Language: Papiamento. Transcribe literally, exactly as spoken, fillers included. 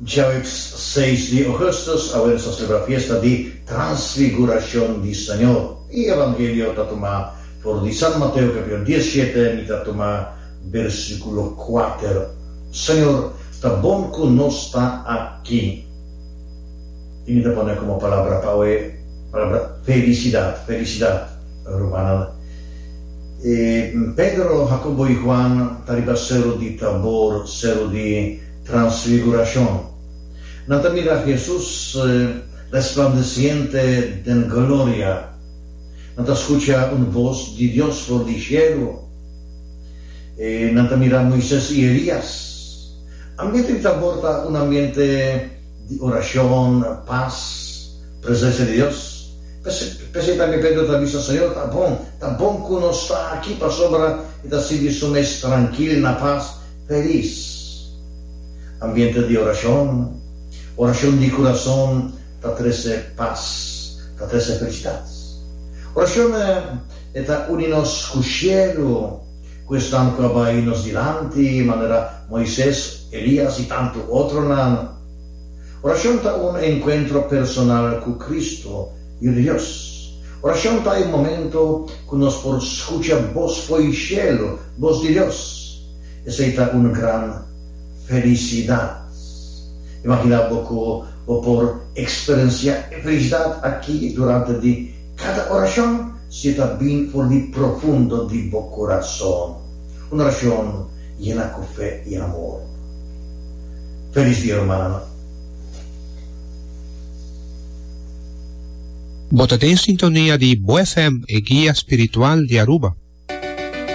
Djaweps seis di ougùstùs, awe nos ta selebrá fiesta di Transfigurashon di Señor. E Evangelio ta tumá for di San Mateo kapítulo diesshete, mi ta tuma versíkulo kuater. Señor, ta bon ku nos ta aki. I mi ta pone komo palabra pa awe palabra felisidat, felisidat, rumannan. E Pedro, Hakobo i Huan ta riba seru di Tabor, seru di Transfigurashon. Nan ta mira Hesus resplandesiente den gloria. Nan ta skucha un bos di Dios for di shelu. Nan ta mira Moises i Elias. Ambiente di Tabor ta un ambiente di orashon, pas, presensia di Dios. P'esei tambe Pedro ta bisa, Señor, ta bon, ta bon ku nos ta aki, pasobra e ta sinti su mes trankil, na pas, felis. Ambiente di orashon, Orashon di kurason ta trese pas, ta trese felisidat. Orashon e ta uni nos ku shelu, ku esnan ku a bai nos dilanti, manera Moises, Elias i tantu otronan. Orashon ta un enkuentro personal ku Kristu, Yu di Dios. Orashon ta e momento ku nos por skucha bos fo'i shelu, bos di Dios. Esei ta un gran felisidat. Imaginá bo ku bo por eksperensiá e felisidat akí durante di kada orashon si e ta bin for di profundo di bo kurason. Un orashon yena ku fe i amor. Felis dia, rumannan. Bo ta den sintonia di Bo F M, e guia spiritual di Aruba.